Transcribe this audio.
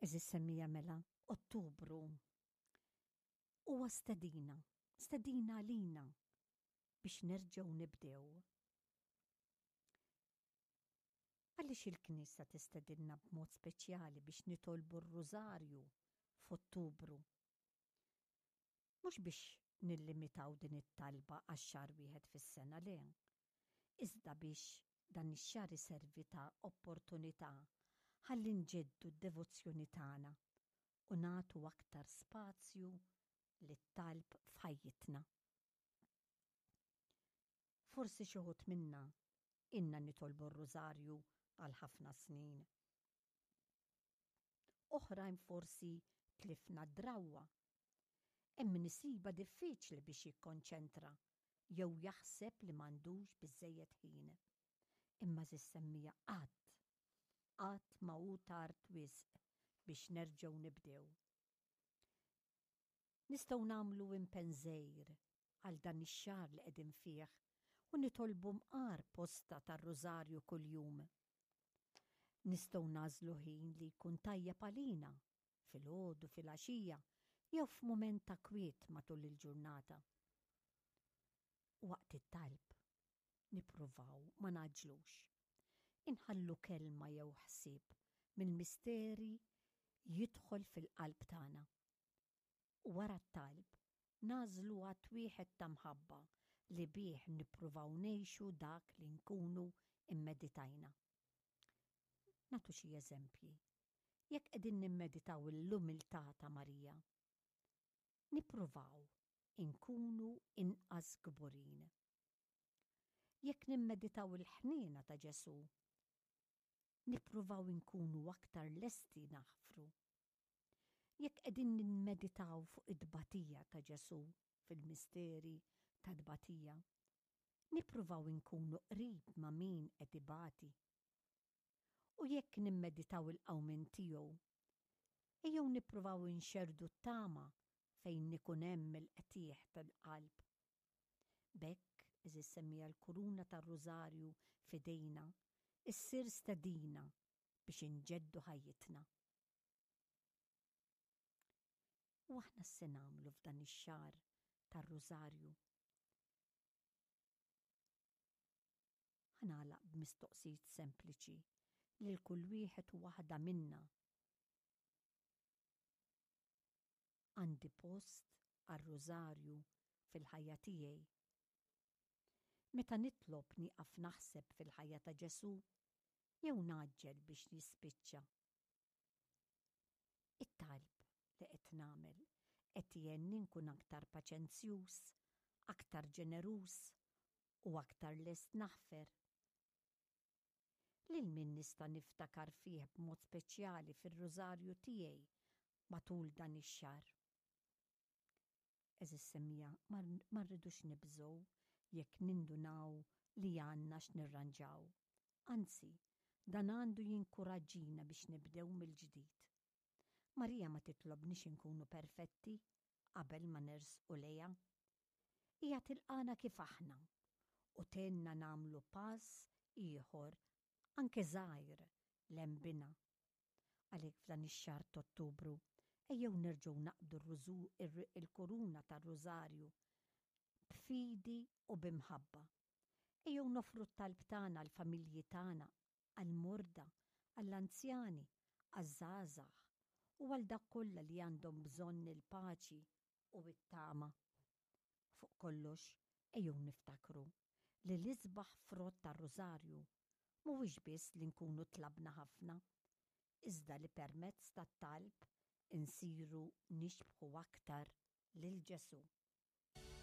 Għeżież semmiegħa mela, Ottubru huwa stedina, stedina għalina biex nerġgħu nibdew. Għaliex il-Knisja tistedinna b'mod speċjali biex nitolbu r-Rużarju f'Ottubru? Mhux biex nillimitaw din it-talba għax-xahar wieħed fis-sena, le. Iżda biex dan ix-xahar iservi ta' opportunità ħalli nġeddu d-devozzjoni tagħna u nagħtu aktar spazju lit-talb f'ħajjitna. Forsi xi wħud minna ilna nitolbu r-Rużarju għal ħafna snin. Oħrajn forsi tlifna d-drawwa. Hemm min isibha diffiċli biex jikkonċentra jew jaħseb li m'għandux biżżejjed ħin. Imma għeżież semmiegħa qatt, qatt ma hu tard wisq biex nerġgħu nibdew. Nistgħu nagħmlu impenn żgħir għal dan ix-xahar li qegħdin fih u nitolbu mqar posta tar-Rużarju kuljum. Nistgħu nagħżlu ħin li jkun tajjeb għalina, filgħodu, filgħaxija jew f'mument ta' kwiet matul il-ġurnata. Waqt it-talb, nippruvaw ma ngħaġġlux. Inħallu kelma jew ħsieb mill-misteri jidħol fil-qalb tagħna. U wara t-talb, nagħżlu att wieħed ta' mħabba li bih nippruvaw ngħixu dak li nkunu mmeditajna. Nagħtu xi eżempji. Jekk qegħdin nimmeditaw l-umiltà ta' Marija, nippruvaw inkunu inqas kburin. Jekk nimmeditaw il-ħniena ta' Ġesù, nippruvaw inkunu aktar lesti naħfru. Jekk qegħdin nimmeditaw fuq it-tbatija ta' Ġesù fil-misteri tat-tbatija, nippruvaw inkunu qrib ma' min qed ibati. U jekk nimmeditaw il-qawmien tiegħu, ejjew nippruvaw inxerrdu t-tama fejn ikun hemm il-qtigħ tal-qalb. B'hekk, għeżież semmiegħa l-kuruna tar-Rużarju f'idejna ssir stedina biex inġeddu ħajjitna. U aħna x'se nagħmlu f'dan ix-xahar tar-Rużarju? Ħa nagħlaq b'mistoqsijiet sempliċi lil kull wieħed u waħda minna. Għandi post għar-Rużarju fil-ħajja tiegħi? Meta nitlob nieqaf naħseb fil-ħajja ta' Ġesù jew ngħaġġel biex jispiċċa? It-talb li qed nagħmel qed jgħinni nkun aktar paċenzjuż, aktar ġeneruż u aktar lest naħfer? Lil min nista' niftakar fih b'mod speċjali fir-Rużarju tiegħi matul dan ix-xahar? Għeżież semmiegħa, ma rridux nibżgħu jekk nindunaw li għandna x'nirranġaw. Anzi, dan għandu jinkuraġġina biex nibdew mill-ġdid. Marija ma titlobniex inkunu perfetti qabel ma nersqu lejha. Hija tilqagħna kif aħna u tgħinna nagħmlu pass ieħor anke żgħir 'l hemm bina. Għalhekk f'dan ix-xahar t'Ottubru ejjew nerġgħu naqbdu l-kuruna tar-Rużarju b'fidi u bi mħabba. Ejjew noffru t-talb tagħna għall-familji tagħna, għall-morda, għall-anzjani, għaż-żgħażagħ u għal dawk kollha li għandhom bżonn il-paċi u t-tama. Fuq kollox, ejjew niftakru li l-isbaħ frott tar-Rużarju mhuwiex biss li nkunu tlabna ħafna, iżda li permezz tat-talb insiru nixbħu aktar lil Ġesù.